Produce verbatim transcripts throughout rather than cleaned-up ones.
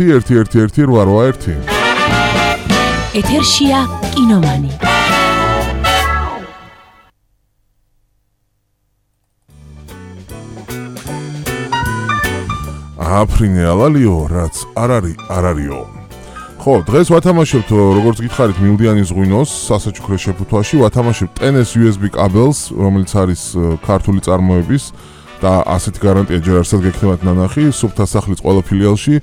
ერთი ერთი ერთი რვა რვა ერთი. ეთერშია კინომანი. აფრინე ალალიო, რაც არ არის, არ არისო. ხო, დღეს ვათამაშებთ, როგორც გითხარით, მილდიანის ღვინოს სასაჩუქრე შეფუთვაში, ვათამაშებთ ტენეს იუ ეს ბი კაბელს, რომელიც არის ქართული წარმოების და ასეთი გარანტია ჯერ არსად გექნებათ ნანახი, სუფთა სახლის ყველა ფილიალში.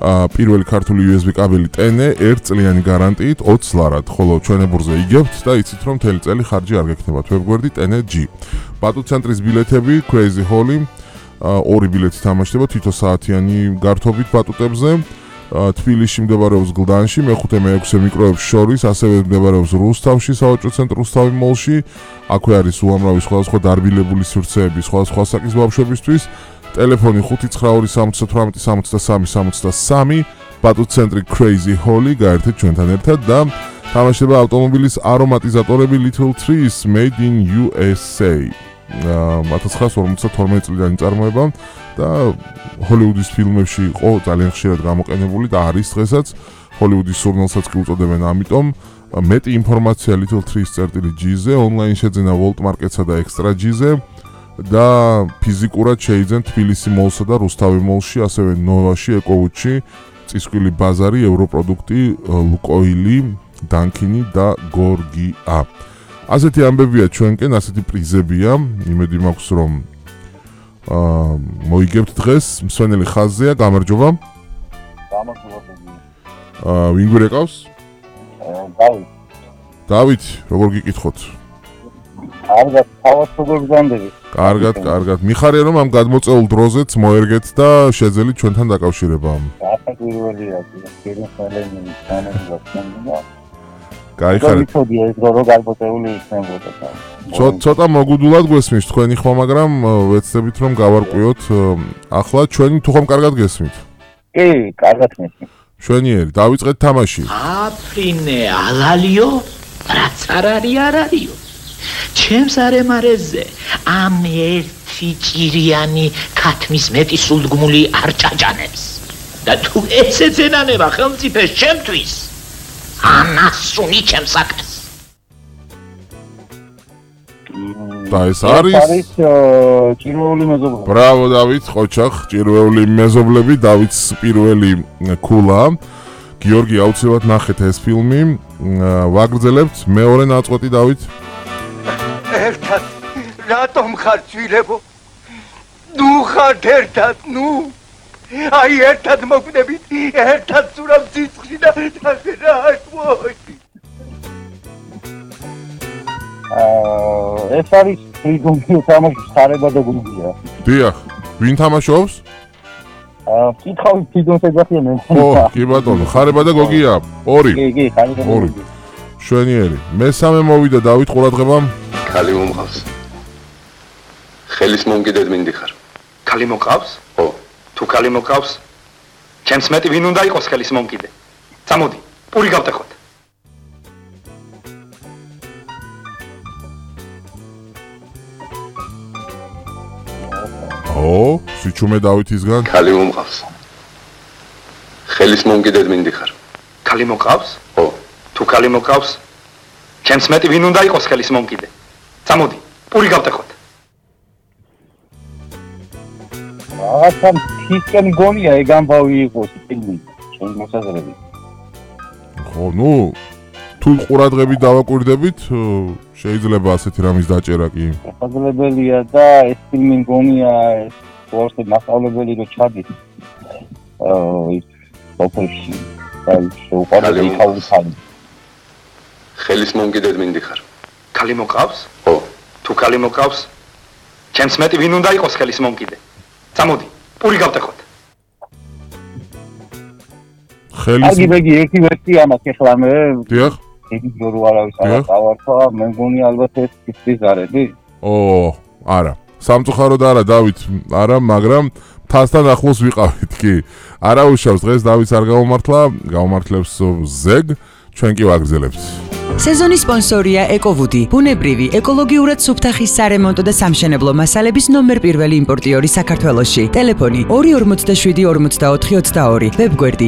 პირველი ქართული იუ ეს ბი კაბელი ტენე ერთ წლიანი გარანტიით ოცს ლარად, ხოლო ჩვენებურზე იგებთ და იცით რომ მთელი წელი ხარჯი არ გექნებათ. ვებგვერდი ტენე ჯი. ბატუცენტრის ბილეთები Crazy Holly ორი ბილეთი თამაშდება თითო საათიანი გართობით ბატუტებზე. თბილისში მდებარეობს გლდანში, მეხუთე მეექვსე მიკროებს შორის, ასევე მდებარეობს რუსთავში, სავაჭრო ცენტრ რუსთავი მოლში. აქვე არის უამრავი სხვადასხვა დარბილებული სივრცეები სხვადასხვა საკის ბავშვებისთვის. ტელეფონი ხუთი ცხრა ორი სამოცდა თვრამეტი სამოცდა სამი სამოცდა სამი. ბატუცენტრი Crazy Holly გაერთეთ ჩვენთან ერთად და თამაშდება ავტომობილის არომატიზატორები Little Trees Made in იუ ეს έი. ათას ცხრაასი ორმოცდათორმეტი წლიდან წარმოება და ჰოლივუდის ფილმებში იყო ძალიან ხშირად გამოყენებული და არის დღესაც ჰოლივუდის სურნელსაც კი უწოდებენ ამიტომ მეტი ინფორმაცია Little Trees.gz-ზე ონლაინ შეძენა Volt Market-სა და Extra G-ზე და ფიზიკურად შეიძენ თბილისი მოლსა და რუსთავი მოლში, ასევე ნოვაში, ეკოუჩი, წისქვილი ბაზარი, ევროპროდუქტი, ლუკოილი, დანკინი და გორგია. ასეთი ამბებია ჩვენკენ, ასეთი პრიზებია, იმედი მაქვს რომ აა მოიგებთ დღეს, მსვენელი ხაზზეა, გამარჯობა. გამარჯობა. აა ვინ გვერეკავს? დავით. დავით, როგორ გიკითხოთ? კარგად, თავად როგორ გზანდები? კარგად, კარგად. მიხარია რომ ამ გადმოწეულ დროზეც მოერგეთ და შეძელით ჩვენთან დაკავშირება. გასაკვირველია, ფილმს მალენი თანამედროვე. გაიხარეთ. ცოტა მოგუდულად გვესმის თქვენი ხმა, მაგრამ ვეცდებით რომ გავარკვიოთ ახლა ჩვენი თუ ხომ კარგად გესმით? კი, კარგად მესმის. შვენიერი, დავიწყეთ თამაში. აფრინე ალალიო, რაც არ არის არ არისო. ჩემს არემარეზე ამ ერთი ჭირიანი ქათმის მეტი სულდგმული არ ჭაჭანებს. და თუ ესეც ენანება ხელმწიფეს ჩემთვის ანასუნი ჩემს საქმეს. და ეს არის ჭირვეული მეზობლები. ბრავო დავით, ყოჩახ, ჭირვეული მეზობლები, დავითს პირველი ქულა. გიორგი აუცილებლად ნახეთ ეს ფილმი. ვაგრძელებთ მეორე ნაწყვეტი დავით. ერთად რატომ ხარ ძვილებო? ნუ ხარ ერთად, ნუ აი ერთად მოგვდებით, ერთად სურავ ციცხვში და რა მოი. აა ეს არის ფრიგონი თამაშის ხარება და გუნდია. დიახ, ვინ თამაშობს? აა კითხავი ფრიგონს ეძახიან მე. ო, კი ბატონო, ხარება და გოგია. ორი. კი, კი, ხარება. ორი. შვენიერი. მესამე მოვიდა დავით ყურადღება. ქალი მომყავს. ხელის მომკიდედ მინდიხარ. ქალი მოყავს? ო. თუ ქალი მოყავს, ჩემს მეტი ვინ უნდა იყოს ხელის მომკიდე? წამოდი, პური გავტეხოთ. ო, სიჩუმე დავითისგან. ქალი მომყავს. ხელის მომკიდედ მინდიხარ. ქალი მოყავს? ო. თუ ქალი მოყავს, ჩემს მეტი ვინ უნდა იყოს ხელის მომკიდე? წამოდი, პური გავტეხოთ. რაღაცა ფისკენ გონია ეგ ამბავი იყოს ფილმი, ჩემი მოსაზრებით. ხო, ნუ თუ ყურადღებით დავაკვირდებით, შეიძლება ასეთი რამის დაჭერა კი. შესაძლებელია და ეს ფილმი გონია ეს ვორსე მასწავლებელი რო ჩადის. აა ის ოპერში და შეუყვარდა იქაუთან. ხელის მომკიდედ მინდიხარ. ქალი მოყავს? ო. თუ ქალი მოყავს, ჩემს მეტი ვინ უნდა იყოს ხელის მომკიდე? წამოდი, პური გავტეხოთ. ხელის აგი ბეგი ერთი ვერსია მაქვს ახლა მე. დიახ. იგი ჯორო არავის არ დავარქვა, მე მგონი ალბათ ეს ის ზარები. ო, არა. სამწუხაროდ არა დავით, არა, მაგრამ თასთან ახლოს ვიყავით კი. არა უშავს დღეს დავითს არ გამომართლა, გამომართლებს ზეგ, ჩვენ კი ვაგრძელებთ. სეზონის სპონსორია ეკოვუდი, ბუნებრივი, ეკოლოგიურად სუფთა ხის სარემონტო და სამშენებლო მასალების ნომერ პირველი იმპორტიორი საქართველოში. ტელეფონი ორი ორმოცდაშვიდი ორმოცდაოთხი ოცდაორი, ვებგვერდი